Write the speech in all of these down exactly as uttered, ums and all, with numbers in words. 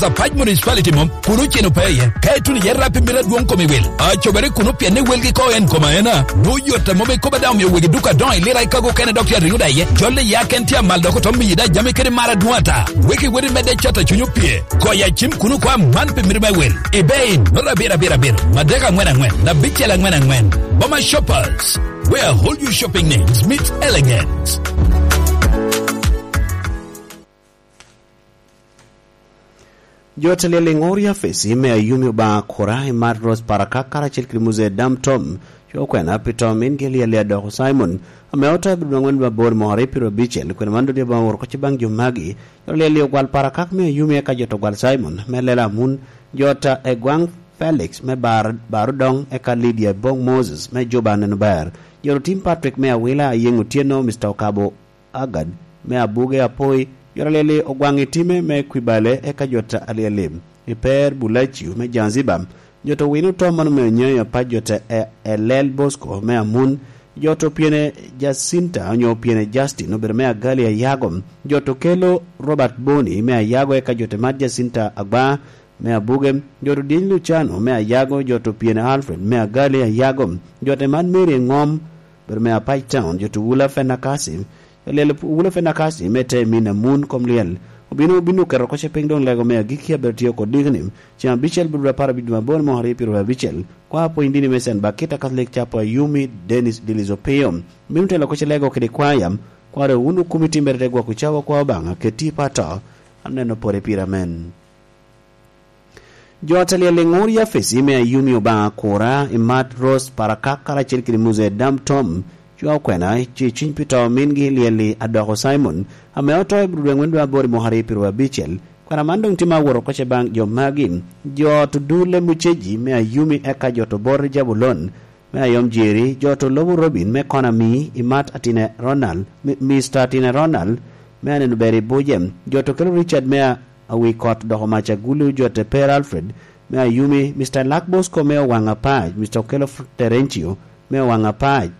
Apac Municipality mom, kun oceno pe iye. Ka ituno iye rap i mito adwoŋ kom i wil, acobere kuno pien ni welgi ko en kom aena. Nwoŋo yot a mom ikobo daŋ omio wegi duka adoŋo i lira i kago okene dok tye ariŋo daŋ iye. Jol i ya ken tye amal dok oto miyi daŋ jami kede mar adwoŋ ata. Weki woti medde cat a cuny opye. Goyo acim kuno kwa man pi mito me wil. Ibe in, nota abiro abiro abiro, madek aŋwen aŋwen, abicel aŋwen aŋwen. Boma Shoppers, where all your shopping needs meets elegance. Jo te lyel i ŋor i afisi me Ayumi Obaŋa Kura i Mat Rose Parakak karacel kede Muzee Dam Tom, co okwena pi to mingi lyel i Adoko Simon, ame oto i abiro angwen aboro mwaka aryo pyeraryo abicel, kwena man dodi Obaŋa oworo kocci baŋ jo magi, jo lyel i ogwal Parakak me Ayumi eka jo to gwal Simon, me lela amun, jo ta Egwaŋ Felix me Bar, Barudoŋ eka Lydia Bong Moses me Juba Neno Ber, jo to Tim Patrick me Awila Ayeŋ Otyeno, Mister Okabo Agad me Abuge Apoi, jo ta lyel i Ogwaŋ Itime me Kwibale eka jo ta Alyelim i Per Bulaciu me Zanzibar, jo to Wino Tom mano me Onyeyo Apac, jo ta E-, Elel Bosco me Amun, jo to Pyene Jacinta onyo Pyene Justin obedo me Agali Ayago, jo to Kelo Robert Boni me Ayago eka jo ta Mat Jacinta Agba me Abuge, jo to Dyeny Luciano me Ayago, jo to Pyene Alfred me Agali Ayago, jo ta Mat Mary Eŋom obedo me Apac Town, jo to Wula Fenakasi, Lyel Wula Fenakasi me te min amun kom lyel. Obino, obino keto kocce piny doŋ lego me agikki a bero tye oko dikni. Ceŋ abicel bro apar abic dwe aboro mwaka aryo pyeraryo abicel. Kwa pwony dini me Sen Bakita Catholic Chapel Ayumi Dennis Dilizo Pio. Obino telo kocce lego kede kwaya. Kwaro wun okumi timbere te gwoko cawa kwa Obaŋa keti pa to. Aneno pore pire amen. Jo ta lyel i ŋor i afisi me Ayumi Obaŋa Kura i Mat Rose Parakak karacel kede Muzee Dam Tom, cwa okwena, ce cuny pi to mingi lyel i Adoko Simon, ame oto i bro dwe aŋwen dwe aboro i mwaka aryo pyeraryo abicel. Kwena man doŋ tye ma aworo kocce baŋ jo magi, jo to Dule Muceji me Ayumi eka jo to Bor Jabulon, me Ayom Jeri, jo to Lobo Robin me Konami i Mat Atine Ronald, Mi-, Mister Atine Ronald, me Aneno Ber i Buje, jo to Kelo Richard me a-, Awi Kot doko Mac Agulu, jo te Per Alfred, me Ayumi, Mister Lak Bosco me Owaŋ Apac, Mister Okelo F-, Terencio me Owaŋ Apac,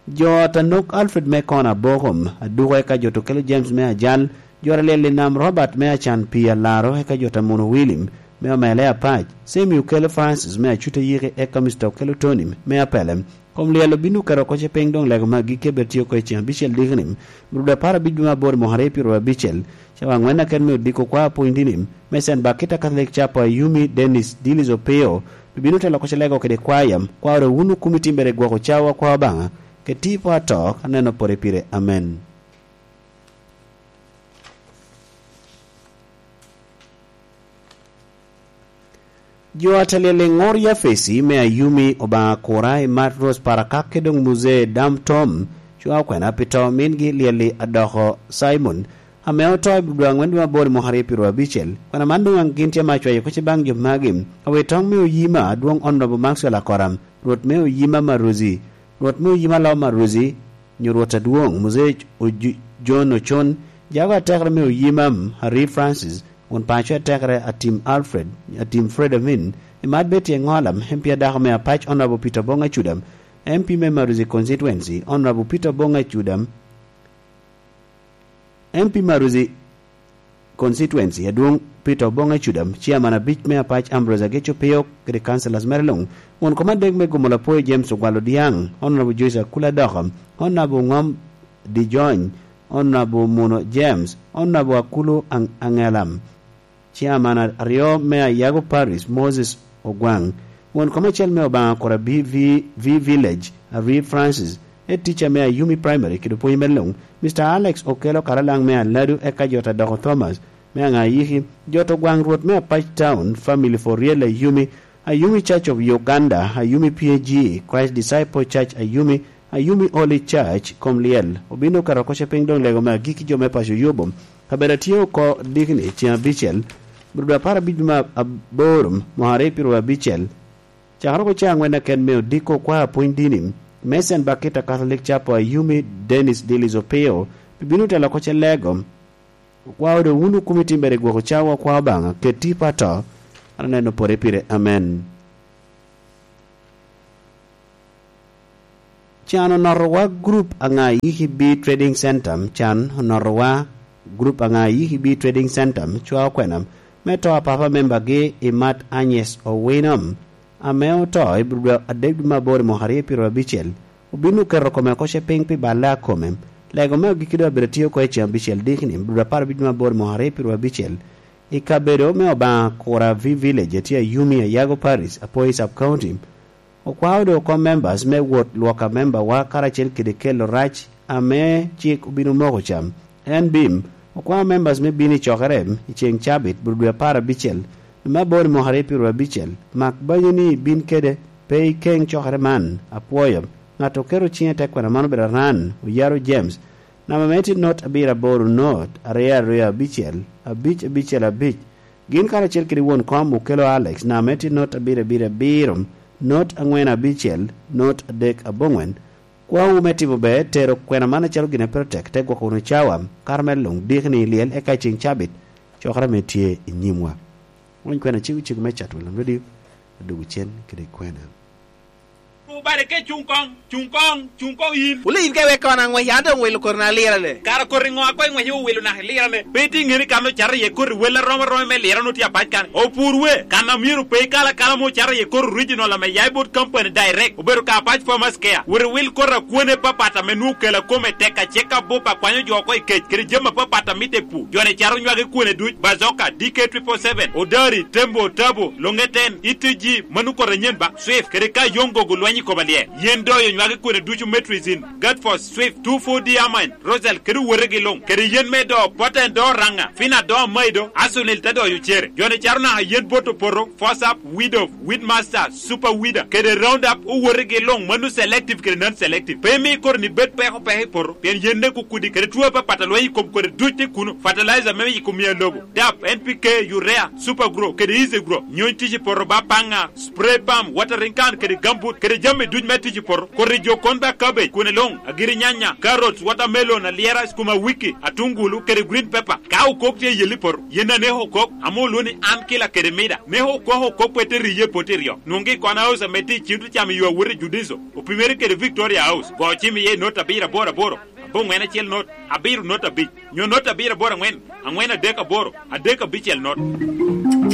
jo ta Nok Alfred me Kona Bokom, Aduko eka jo to Kelo James me Ajal, jo ta Lyel i Nam Robert me Acan Pii Alaro, eka jo ta Muno William, me Omele Apac, Semi Okelo Francis me Acuta Yiki, eka Mister Okelo Tony me Apele. Kom lyel obino keto kocce piny doŋ lego me agikki a bed tye oko i ceŋ abicel dikni, bro dwe apar abic dwe me aboro mwaka aryo pyeraryo abicel, cawa aŋwen aket me odiko kwa apwony dini, me Sen Bakita Catholic Chapel Ayumi Dennis Dilis Opio, bibino telo kocce lego kede kwaya, kwaro wun okumi timbere gwoko cawa kwa Obaŋa, keti po ato, aneno pore pire. Amen. Jo a ta lyel i ŋor Yafesi me Ayumi, Obaŋa Kura i Mat Rose Parakak kede doŋ Muzee Dam Tom, cwa okwena pi to mingi lyel i Adoko Simon, ame oto i dwe aŋwen dwe aboro i mwaka aryo pyeraryo abicel. Kwena man doŋ gin tye ma acwayo kocce baŋ jo magi, awi toŋ me oyima adwoŋ Honorable Maxwell Akoram, Rwot me oyima Maruzi, Rwot me oyima Loma Ruzi, nyo Rwot adwoŋ, Muzee Oju-, John Ocon, jago atekere me oyima Harry Francis, won paco atekere Atim Alfred, Atim Fred Amin, i Mat Betty Eŋolam, M P adako me Apac, Honorable Peter Bonga Cudam, M P me Maruzi Constituency, Honorable Peter Bonga Cudam, M P Maruzi Constituency, adwoŋ Peter Oboŋ Ecudam, Chairman abic me Apac Ambrose Ageco Pio, kede councillors mere luŋ, won kom adek me Gomola Poi James Ogwal Odiaŋ, Honorable Joyce Akula Adoka, Honorable Ŋom Dijony, Honorable Muno James, Honorable Akulu Aŋ-, Aŋelam. Chairman a-, aryo me Ayago Parish, Moses Ogwaŋ. Won kom acel me Obaŋa Kura B V, V Village, Harry Francis. Head teacher me Ayumi Primary, kede opwony me luŋ, Mister Alex Okello Karalaŋ me Aladu, eka jo ta Doko Thomas me Aŋayiki, jo to Gwaŋ Rwot me Apac Town, Family for Real Ayumi, Ayumi Church of Uganda, Ayumi P A G, Christ Disciple Church Ayumi, Ayumi Holy Church, kom lyel. Obino keto kocce piny doŋ lego me agikki jo me paco Yubu. Kabedo atye oko dikni ceŋ abicel, bro dwe apar abic me aboro, mwaka aryo pyeraryo abicel. Cakere oko cawa aŋwen aken me odiko kwa apwony dini, me Sen Bakita Catholic Chapel Ayumi Dennis Dilis Opio, bibino telo kocce lego. Okwao doŋ wun okumi timbere gwoko cawa kwa Obaŋa, keti pa to, an aneno pore pire. Amen. Can onotowa group Aŋayiki B Trading Center, can onotowa group Aŋayiki B Trading Center, cwa okwena, me to a papa membagi i Mat Agnes Owino, ame oto i Budo adek dwe me aboro i mwaka aryo pyeraryo abicel, obin oketo kome oko ce piny pi balle a kome. Lego me agikki doŋ abedo tye oko i ceŋ abicel dikni, Budo apar abic dwe me aboro i mwaka aryo pyeraryo abicel, i kabedo me Obaŋa Kura V Village, a tye Ayumi, Ayago Parish, Apoi Sub-County. Okwao doŋ oko members me wot lwoko amembawa karacel kede kelo rac ame cik obino moko ca. En Bim okwao members me bino i cokere i ceŋ cabit, Budo dwe apar abicel, dwe me aboro i mwaka aryo pyeraryo abicel. Mak banyo ni ibin kede pe i keŋ cokere man. Apwoyo. Ŋat oketo ciŋe i te kwena man obedo Aran Oyaro James, namba me tye not abiro aboro not aryo aryo abicel abic abicel abic. Gin karacel kede won kom Okello Alex, namba me tye not abiro abiro abiro not angwen abicel not adek aboŋwen. Kwawu me timo ber, tero kwena man acalo gin a pe tek, te gwoko wunu cawa, kato mere luŋ dikni i lyel, eka i ceŋ cabit, cokere ame tye i nyimwa. Wony kwena cego cego me cat welo nodi, adugu cen kede kwena. Obale ke cuŋ koŋ, cuŋ koŋ, cuŋ koŋ yin. Wule yin ka iwek kono aŋwec, an doŋ wilo koti na lirane. Kara koti ŋo a koŋ iŋwec iwilo naka ilirane? Pe itye ŋeni kan ocato iye koti wel arom aroma me lirane otye apac kan. Opur we, kan a myero pe ikal akala mo ocato iye koti original ame ya i bot company direct. Obedo ka apac farmers care. Wot iwil koti a kwone papat ame nwoŋo kela kome tek acek abup akwanyo jo oko i kec, kede jami apapat a mitte i pur. Joni caro nywagi kwone duc, Bazooka, D K triple seven, Odari, Tembo, Tabo, Longeten, E T G, mano koti anyen ba, Swift, kede ka yoŋ gogo lweny i koma lye. Yen doyo nywagi kwene ducu Metrizin, Gatfos, Swift, two four D Amine, Rosel, kede owotegi luŋ, kede yen me do, Poten do Raŋa, Fina do Maido, Asunil te doyo cere. Joni caro naka yen bot opoto, Fosap, Widow, Weedmaster, Super Weeder, kede Roundup, owotegi luŋ, mano selective kede non-selective. Pe imi kodi ni bed peko peko i poto, pien yen ne kukudi, kede two apapat a lweny i kom kodi duc tye kuno, fertilizer me yiko mia lobo, dap, N P K, urea, Super Grow, kede Easy Grow. Nyony tic i poto ba paŋa, spray pump, watering can, kede gambut, kede jami duc me tic i poto. Kodi jo kon ba cabbage, kwene luŋ, agiri nyanya, carrots, watermelon, alyera, sukuma wiki, atungulu, kede green pepper. Ka okok tye i yel i poto, yen aneko okok, ame olwo ni an kila kede mida. Neko okok okok pe te riye i poto iryo. Nwoŋgi i kwana house ame tye i cim tye camo yo awot i Judiso, opimere kede Victoria House. Go cim iye i not abiro aboro aboro, aboŋwen acel not, abiro not abic, nyo not abiro aboro aŋwen, aŋwen adek aboro, adek abicel not.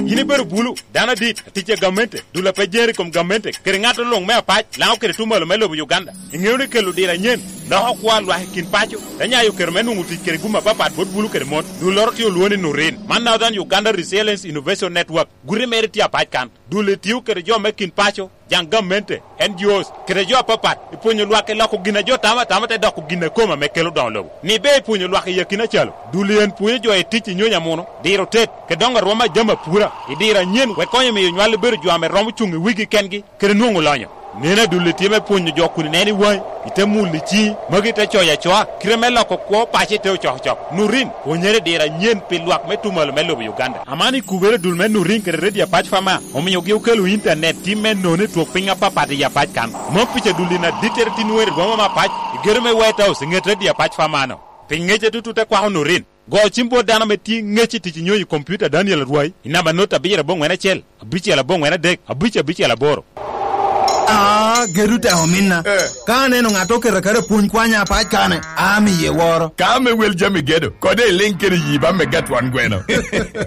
Yin ibedo bulu, dano adit, atic a gamente, dul a pe jeri i kom gamente, kede ŋat oluŋ me apac, Laŋo kede Tumalo me lobo Uganda. Iŋeo ni kelo diro anyen loko kwo a lwak i kin paco, te nyayo kero me nwoŋo tic kede gum apapat bot bulu kede mon. Dulloro tye olwoŋo ni Nurin. Man Northern Uganda Resilience Innovation Network. Guti mere tye apac kan. Dul etio kede jo me kin paco, jaŋ gamente, N G Os, kede jo apapat, i pwonyo lwak i loko gin a jo tamo atama te doko gin a kome ame kelo doŋo lobo. Ni be i pwonyo lwak i akina calo, dul en pwonyo jo i tic i nyony amuno, diro tet, kede doŋo arwom a jami apura, i diro anyen, wek konyo miyo nywal bedo jo ame romo cuŋ i wigi kengi, kede nwoŋo lonyo. Neno adulli tye me pwonyo jo kun ineno i waŋi, ite mulo i ciŋi, magi te coyo acoa, kite me loko kwo paco ite ocokocok. Nurin, pwonyere i diro anyen pi lwak me Tumalo me lobo Uganda. Aman i kubere dul me Nurin kede Radio Apac Fama, omiogi okelo intanet tim me nono i twok piny apapat i Apac kan. Mom pica dulli na dittere tin wer i rwoma me Apac, i gedo me White House, i ŋet Radio Apac Fama-no. Pi ŋece tutu te kwako Nurin. Go cim bot dano ame tye ŋec i tic i nyonyo i kompiuta, Daniel Arwai, i namba not abiro aboŋwen acel, abicel aboŋwen adek, abic abicel aboro. Ah, gedo tek ominna. Eh. Ka aneno ŋat oketo aketa pwony kwanya apac kane, amiye woro. Ka ame wel jami gedo, kode iliŋ kede yi ba me gatwon gweno.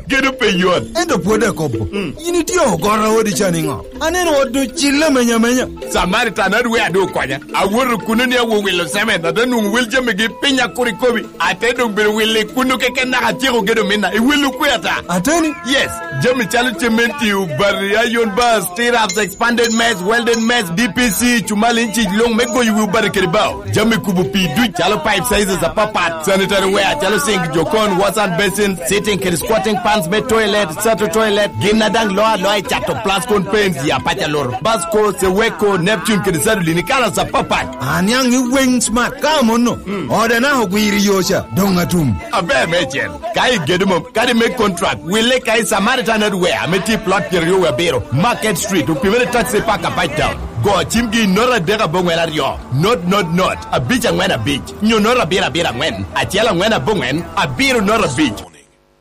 Gedo pe yot. Ento pwod akobo. Mm. In itye ogoro odi ca niŋo? Aneno ot ocille amenya amenya. Samaritan adwe adu okonya. Awoto kuno ni awo wilo semen, ate nwoŋo wel jamigi piny akuri kobi. Ate doŋ bedo wilo i kuno keken naka atyeko gedo minna. I wilo kwe ata? Ateni? Yes. Jami calo cementi, obati, iron bars, tirabs, expanded mess, welded mess, D P C, cumali, inci, luŋ me goyo wi obati kede bao. Jami kubo pii duc calo pipe sizes apapat, sanitary ware calo sink, jokon, wash hand basin, sitting kede squatting pans me toilet, sato toilet, gin a daŋ loo aloa i cato plascon paints ya paca loro, Basco, Seweko, Neptune kede Sadolin i kalas apapat. Aniaŋ i weng smart ka amono. Mm. Ode naka ogwiro i yo ca, doŋ atum. Aber meicel. Ka igedo mom, kadi me contract, wille ka i Samaritan Hardware ame tye i plot pyeraryo wie abiro, Market Street, opimere taxi park apac town. Go cimgi i not adek aboŋwen aryo, not, not, not, abic aŋwen abic, nyo not abiro abiro aŋwen, acel aŋwen aboŋwen, abiro not abic.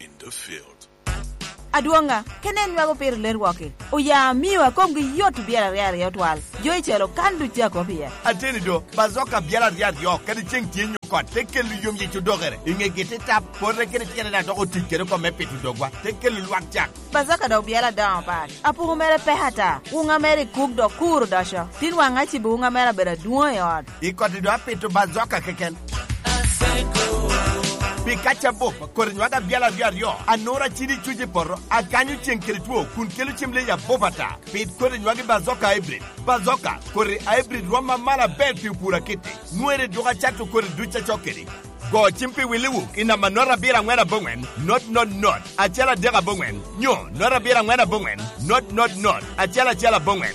In the field. Adwoŋa, kene en nywako piro ler wok-ki. Oya amio a komgi yot obyelo aryo aryo twal. Jo i calo kan duc a kop iye. Ateni do, bazoka byel aryo aryo, kadi ceŋ tye nyo kot, te kelo yom yec odokere. I ŋegi te tap, pote kede tyene daŋ dok otic kede oko me pito dogwa, te kelo lwak cak. Bazoka dok byel adoŋo pat. Apuku mere pek ata. Wuŋa mere i kuk dok kur odoco. Tin waŋ acibo wuŋa mere abedo adwoŋ i ot. I koti do apito bazoka keken. Pi kaca bup, kodi nywag abyal aryo aryo, anura cidi cuc i poto, akanyo ceŋ kede two, kun kelo cem leyi abup ata. Pit kodi nywag i bazoka hybrid. Bazoka, kodi hybrid rom amalo aber pi opur akitti. Nwere duk acato kodi duc acok kedi. Go cim pi Willy Wuk i namba not abiro aŋwen aboŋwen, not not not, acel adek aboŋwen, nyo not abiro aŋwen aboŋwen, not not not, acel acel aboŋwen.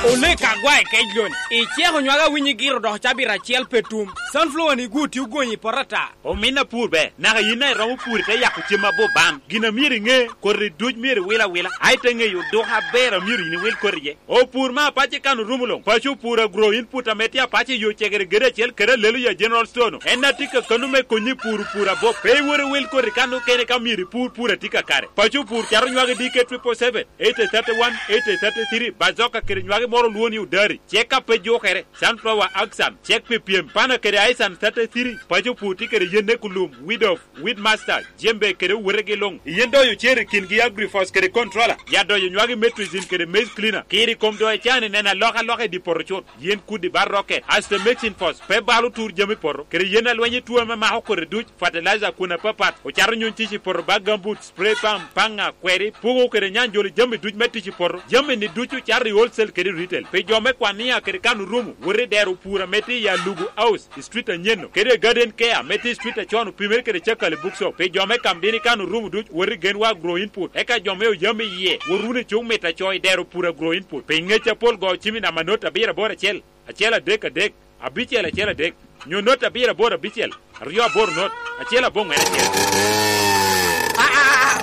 Olek agwa i kec loni, iceko nywag awinyi giro dok cabit acel pe tum. Sunflower ni gwo tye ogonyi i poto ata. Omin apur be, naka yin a iromo pur ite yako cem abup bam. Gin a myero iŋe, kodi duc myero iwil awila, a ite ŋeyo duk aber a myero yin iwil kodi iye. Opur me apac i kan orumo luŋ. Paco opur agro input ame tye apac i yo cegere gede acel kede alelo ya General Store-nu. En a tye ka kano me konyi i pur opur abop. Pe iwor iwil koti kan okene ka myero ipur pur a tye kakare. Paco opur cato nywagi D K triple seven, eighty thirty-one, eighty thirty-three, bazoka kede nywagi moro olwo ni odari. Cek ka pe jukere, sunflower axan, cek pi pyem, pana kede aisan thirty-three, paco opur tye kede yen ekulum, weed of, weed master, jembe kede owetegi luŋ. Yen doyo cer i kingi agrifos kede controller, ya doyo nywagi metricin kede maize cleaner. Kiri kom doyo can i neno alokaloka i dye poto cut. Yen kudi bar rokke, asto mexin fos, pe balo tur jami poto, kede yen alweny i tuo ame mako kodi duc, fertilizer kun apapat, ocato nyuŋ tic i poto ba gambut, spray pump, paŋa, kweri, pugo kede nyanjolo jami duc me tic i poto. Jami-ni ducu cato i wholesale kede retail. Pi jo me Kwania kede kan orumo, wot i dero opur ame tye i Alugu House, i street anyen-nu, kede Garden Care ame tye i street acon opimere kede Cakali Bookshop. Pi jo me Kamdini kan orumo duc, wot i Genwa Agro Input. Eka jo me Oyami iye, wot wunu i cuŋ mit aco i dero opur Agro Input. Pi ŋec apol go cim i namba not abiro aboro acel, acel adek adek, abicel acel adek, nyo not abiro aboro abicel, aryo aboro not, acel aboŋwen acel.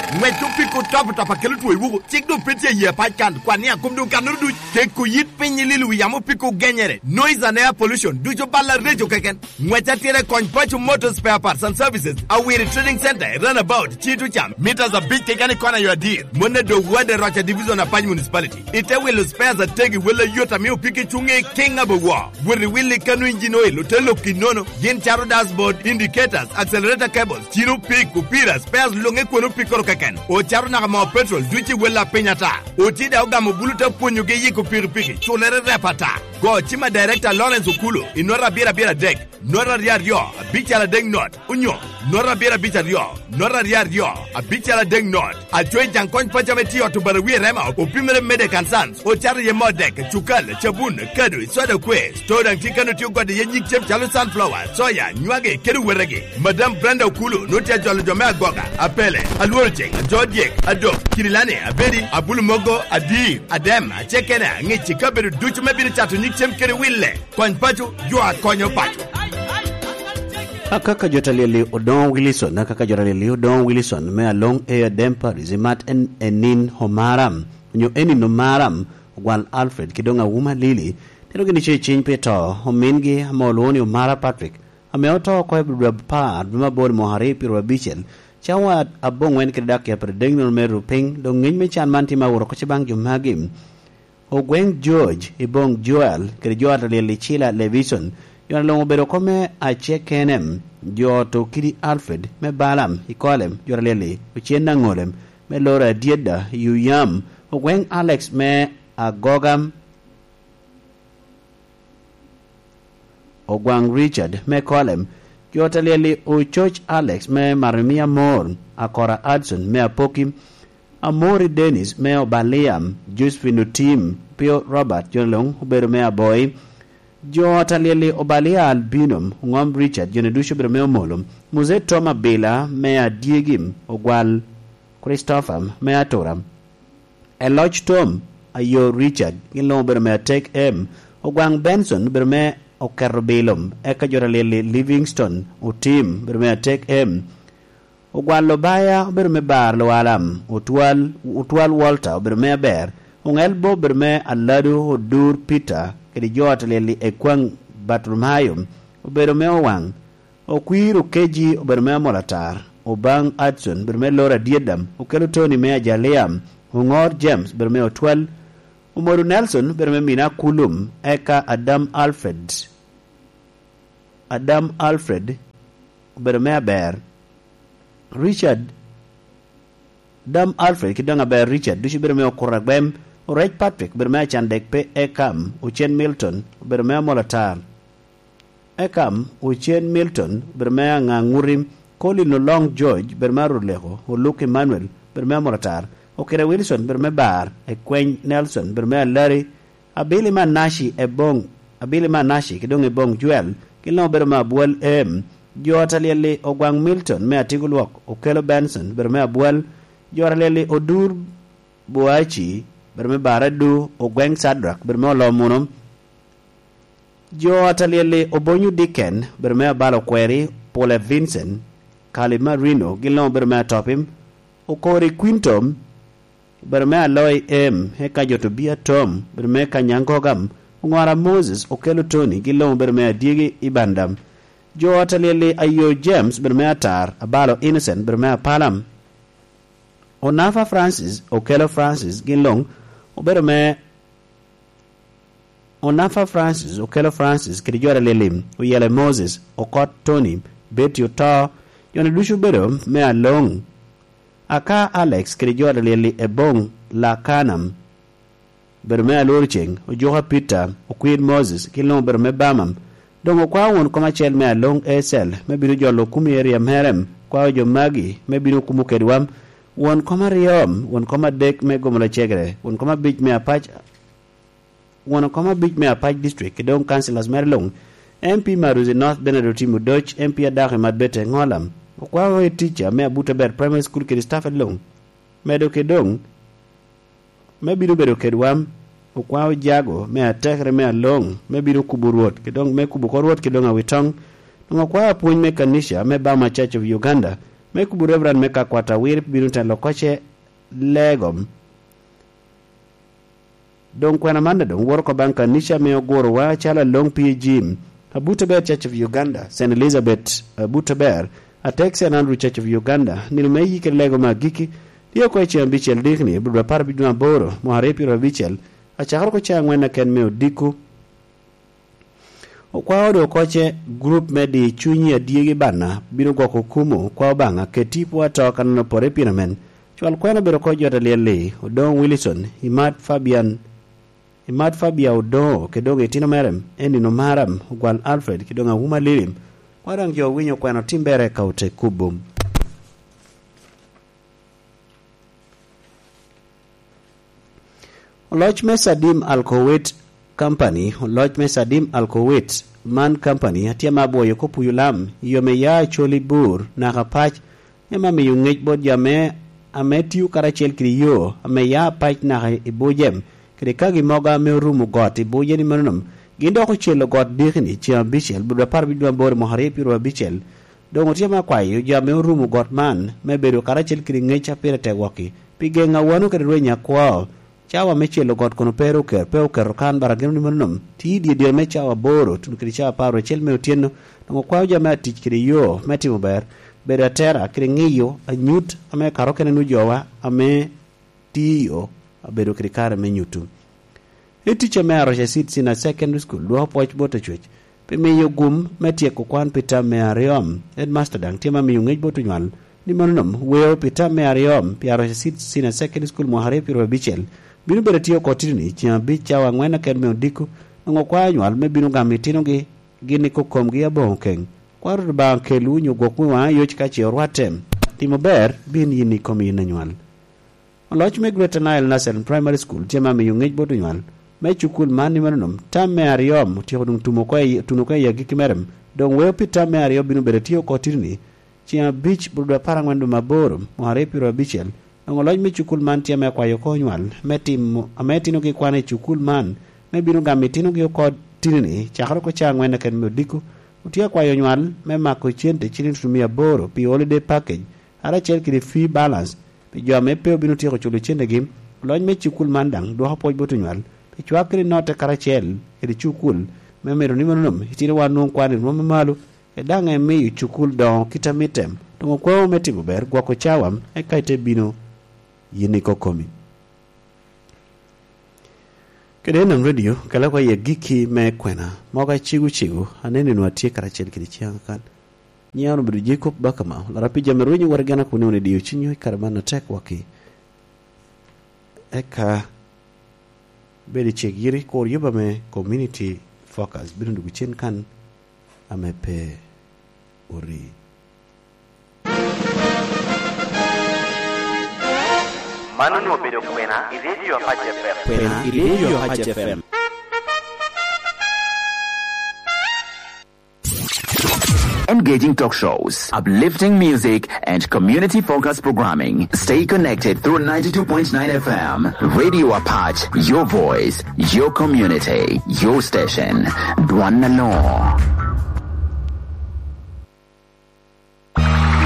Ŋwec opiko top top a kelo two i wuku, cik doŋ pe tye i yie pac kan, kwan ni a kom doŋ kannoro duc, keko yit piny i lilo wi yamo opiko genyere, noise and air pollution, ducu bal areco keken. Ŋwec atira i kony Paco Motor Spare Parts and Services, Awiri Trading Center, i Runabout, Cito Cam, meters abic keken i kona yo adir. Mon a dog wade Roca Division, Apac Municipality. Ite wilo spares ategi, wel ayot ame opiki cuŋe i King Abowo. Wot i wil i kano engine oil, ote lok i nono. Gin caro dashboard, indicators, accelerator cables, cino pik, opira, spares luŋe kwon opikoro keken. Ocato naka moo petrol, duc i wel a piny ata. Oti daŋ ogamo bulu te pwonyogi yiko pikipiki, culere rep ata. Go cim a Director Lawrence Okulu, i nota abiro abiro adek. Not aryo aryo, abical adek not, onyo not abiro abic aryo, not aryo aryo, abical adek not. Aco i jaŋ kony paco ame tye i ot Obarawi i Rema, opimere Medek and Sons, ocato iye moo dek, cukal, cabun, kado, soda kwe. Store daŋ tye kano tye ogode iye nyig cem calo sunflower, soya, nywagi, kede wetegi. Madam Brenda Okulu nwoŋo tye ajolo jo me Agoga, Apele, Alworo Ceŋ, Ajo Dyek, Adok, Kirilani, Abedi, Abulu Mogo, Adir, Adem, Acekena, Ŋici, kabedo ducu me bino cato nyig cem kede wille. Kony paco, jo a konyo paco. Akaka jo ta lyel-li Odoŋo Wilson, akaka jo ta lyel-li Odoŋo Wilson me Aloŋ Air Dem Paris, imat en Enin Omaram, onyo Enin Omaram, Ogwal Alfred, ki doŋ Awuma Lili, tino gin ice ciny pi to, omingi ame olwoŋo ni Omara Patrick, ame oto oko i dwe apar, dwe me aboro, mwaka aryo pyeraryo abicel, cawa aboŋwen kede dakika pyeraryo adek nino me rupiny, doŋ ŋec me can man tye ma awot oko ce baŋ jo magi. Ogweŋ George i boŋ Joel kede jo ata lyel i Cila Levison, jo ata luŋ obedo oko me Acekenem, jo oto kidi Alfred me Balaam i Kolem, jo ata lyel i Ocen Aŋolem me Loro Adyedda i Uyam, Ogweŋ Alex me Agogam, Ogwaŋ Richard me Kolem, jo ata lyel i Ococ Alex me Marmia Mor, Akora Adson me Apoki, Amori Dennis me Obalia, Josephine Otim, Pio Robert, jo luŋ obedo me Aboi, jo ata lyel i Obalia Albino, Oŋom Richard, jo ducu obedo me Omolo, Muzee Tom Abila me Adyegi, Ogwal Christopher me Atura, Eloc Tom, Ayo Richard, gin luŋ obedo me Atek M, Ogwaŋ Benson obedo me Oketo Bilo, eka jo ata lyel i Livingston Otim obedo me Atek M, Ogwal Obaya obedo me Bar Lualam, Otwal, Otwal Walter obedo me Aber, Oŋel Bo obedo me Alado, Odur Peter, kede jo ata lyel i Ekwaŋ Bartolomayo obedo me Owaŋ, Okwir Okeji obedo me Amolatar, Obang Adson, bedo me Lora Adyedam, Okelo Tony me Ajalia, Oŋor James, bedo me Otwal, Omodo Nelson, bedo me Mina Kulum, eka Adam Alfred, Adam Alfred, obedo me Aber, Richard, Adam Alfred ki doŋ Aber Richard, ducu bedo me Okuto Agwem, Orec Patrick, bedo me Acandek pe Ekam, Ocen Milton, obedo me Amolo Atar. Ekam, Ocen Milton, bedo me Aŋaŋuti, Colin Oloŋ George, bedo me Aruleko, Oluk Emmanuel, bedo me Amolo Atar, Okire Wilson, bedo me Bar, Ekweny Nelson, bedo me Alari, Abili Manaci Eboŋ, Abili Manaci ki doŋ Eboŋ Joel, gin luŋ obedo me Abwal Em, jo ot alyel-li Ogwaŋ Milton me Atigo Lwok, Okelo Benson, bedo me Abwal, jo ot alyel-li Odur Boaci, bedo me Baradu, Ogweŋ Cadrak, bedo me Olomuno, jo ot alyel-li Obonyo Dicken, bedo me Abalo Kweri, Pule Vincent, Kali Marino, gin luŋ obedo me Atopim, Okori Quintom, obedo me Aloi Em, eka jo Tobia Tom, obedo me Kanyaŋ Gogam, Oŋora Moses, Okelo Tony, gin luŋ obedo me Adyegi i Bandam, jo ot alyel-li Ayo James, obedo me Atar, Abalo Innocent, obedo me Apalam, Onafa Francis, Okelo Francis, gin luŋ obedo me Onafa Francis, Okelo Francis, kede jo ot alyel-li Oyele Moses, Okot Tony, Betty Oto, jo-ni ducu obedo me Aloŋ, Aka Alex, kede jo ot alyel-li Eboŋ Lakanam, obedo me Alworo Ceŋ, Ojuka Peter, Okwir Moses, gin luŋ obedo me Bamam, doŋ okwao won kom acel me Aloŋ Ecel, me bino jolo okumi i eria mere, okwao jo magi, me bino kumo kedwa, won kom aryo, won kom adek me Gomola Cegere, won kom abic me Apac, won kom abic me Apac District, ki doŋ councillors mere luŋ, M P Maruzi North Bernard Otim Odoc, M P Adako i Madbete Ŋolam, okwao i tica me Abuto Ber Primary School kede staff luŋ, medo ki doŋ, me bino bedo kedwa, okwao jago me atekere me Aloŋ, me bino kubo Rwot, ki doŋ me kubo kor Rwot ki doŋ awitoŋ, doŋ okwao apwony me kanica me Bama Church of Uganda, me kubo Reverend me Kakwata Awir bino telo koce legom. Doŋ kwena man doŋ woro oko baŋ kanica ame ogurowa acalo Aloŋ P G, Abuto Ber Church of Uganda, Saint Elizabeth Abuto Ber, atek Saint Andrew Church of Uganda, nino me yikere lego me agikki, tye oko i ceŋ abicel dikni, bur apar abicel dwe aboro, mwaka aryo pyeraryo abicel, acakere oko ceŋ aŋwen aken me odiko. Okwao doŋ okoce, gurup me di cunyi adyegi bana bino gwoko kumo kwa Obaŋa, keti pwo ato kanano pore pien amen. Cwal kwena obedo oko jot alyel-li, Odoŋo Wilson, Imat Fabian, Imat Fabia Odoŋo, kede doŋ itino mere, Enino Maram, Ogwal Alfred, kede doŋ Awuma Lilim. Kwa daŋ jo owinyo kwena otimmere ka ote kubo. Oloc me Sadim Alkowit Company, oloc me Sadim Alkowit man company, atye ma abwoyo kop puyo lam, i yo me ya acoli bur, naka pac, ema miyo ŋec bot jo ame, ame tio karacel kede yo, ame ya pac naka i Bujem, kede kagi mogo ame orumo got i Bujem i manonom, gin dok ocelo got dikini ceŋ abicel, bur apar abicel dwe aboro mwaka aryo pyeraryo abicel, Doŋ otye me akwayo jo ame orumo got man me bedo karacel kede ŋec a pire tek wokki, pi geŋ awano kede rweny akwo. Cawa me celo got kono pe ru oker-, pe oketo kan, bara gin ni mano nom tye i dye dyere me cawa aboro tuno kede cawa apar acel me otyeno. Doŋ okwayo jo me atic kede yo me timo ber, bedo atera kede ŋiyo anyut ame kato kene nu jowa ame tye i yo abedo kede kare me nyuto. I ticca me Aroca Seed Senior Secondary School, dwoko pwoc bot Acwec pi miyo gum me tyeko kwan pi tam me aryo. Headmaster daŋ tye ma miyo ŋec bot onywal ni mano nom weo pi tam me aryo pi Aroca Seed Senior Secondary School mwaka aryo pyeraryo abicel bino bedo tye oko titini ceŋ abic cawa aŋwen aken me odiko, nwoŋo okwayo onywal me bino gamo itinogi gin i kokomgi aboŋo keŋ. Kwaro Rwot Obaŋa kelwu onyo gwokwu i waŋa yoc ka ce orwatte. Timo ber bin yin i komi yin anywal. Oloc me Greater Nile Nursery Primary School tye ma miyo ŋec bot onywal me cukul man ni mano nom tam me aryo otyeko doŋ tumo oko i, tuno oko i agikki mere, doŋ weo pi tam me aryo bino bedo tye oko titini ceŋ abic bur dwe apar aŋwen dwe me aboro mwaka aryo pyeraryo abicel. Doŋ oloc me cukul man tye me kwayo oko onywal me timo ame itinogi kwan i cukul man me bino gamo itinogi oko titini cakere oko cawa aŋwen aken me odiko. Otye akwayo onywal me mako cente ciliŋ tutumia aboro pi holiday package, karacel kede fee balance pi jo ame pe obino tyeko culo centegi. Oloc me cukul man daŋ dwoko pwoc bot onywal pi cwak kede notte karacel kede cukul, me mito ni mano nom itinowa onwoŋ kwan i rwom me malo, kede daŋ emiyo cukul doŋo kit a mitte. Doŋ okwao me timo ber, gwoko cawa, eka ite bino yin i kokomi. Kede Enam Radio, kela kwa i agikki me kwena, mogo acego cego, aneno ni atye karacel kede ciaŋ kan. Nyiŋa onwoŋo obedo Jacob Bakama, olara pi jami rwenyo wot i gena kun ni wun idiyo cunywu i kare man atek waki. Eka bed i cik yiri, kur yuba me Community Focus bino dwogo cen kan ame pe ori. Man onwoŋo obedo kwena i Radio Apac F M. Kwena i Radio Apac F M. Engaging talk shows, uplifting music, and community-focused programming. Stay connected through ninety-two point nine F M. Radio Apac, your voice, your community, your station. Dwan na lo.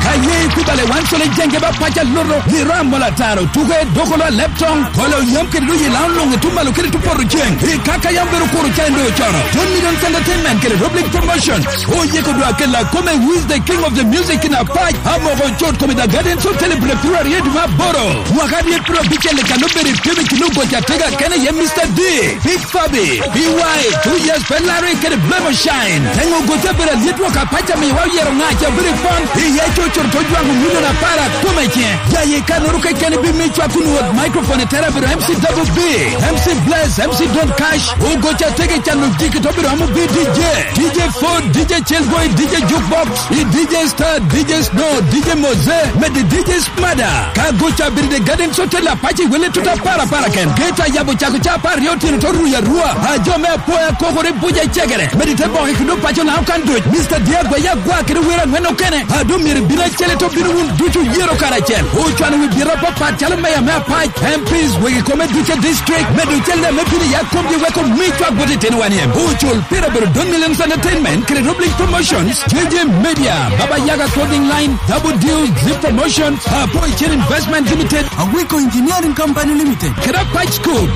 Ka ye ikubale wan colo i jenge ba pac aloto, i ram mola taro, tuke, dokolo, aleptong, kolo yam kede doyi lao loŋe tumalo kede tupoto ceng. I kaka yam bedo kuro ca endo cono. John Millions Entertainment kede Rob League Promotion. Oyeko dwa kela kome, who is the king of the music in Apac? Amoko cot kome, The Gardens Hotel, i pire piru aryo dwe me aboro. Mwaka aryo piru abicel i kan obedo i pime kino goca tega kene ye Mister D. Big Fabi, B Y, Two Years Ferrari kede Blemo Shine. Teŋo gote bedo alyet wok apac amiwa oyero ŋaca bedo i pon. Iye coco to jwaŋo milion apar akome ce. Jaye kanoro keken bi mi cwak kun wot microphone i tera bedo M C Double B, M C Bless, M C Don Cash. Ogoca tege cano jiki to bedo amo bi D J. D J Ford, D J Chelboy, D J Jukebox, i D J Star, D J Snow, D J Moze, med D J Mada, ka goca bedo i The Gardens Hotel Apac i wele tuta para para ken. Geta yabo cako ca apar aryo otyeno to ruyo arua. A jo me apoya kokore buca cegere. Medi te boke kendo paco na okan duc. Mister Diego ya gwa kede wero angwen okene. A do myero ibino acel to bino wun ducu yero karacel. Ocwano wi bira papat calo meya me Apac, M Ps, wegi kome duce district. Medo cel ne me bino ya komgi weko mi cwak bot itino wan iem. Ocul pira bedo Don Millions Entertainment, kede Rob League Promotions, J J Media, Baba Yaga Clothing Line, Double Deal, Zip Promotions, Apo Chen Investment Limited, Awiko Engineering Company Limited, kede Apac Scoop.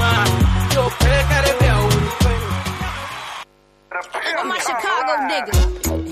I'm a Chicago nigga.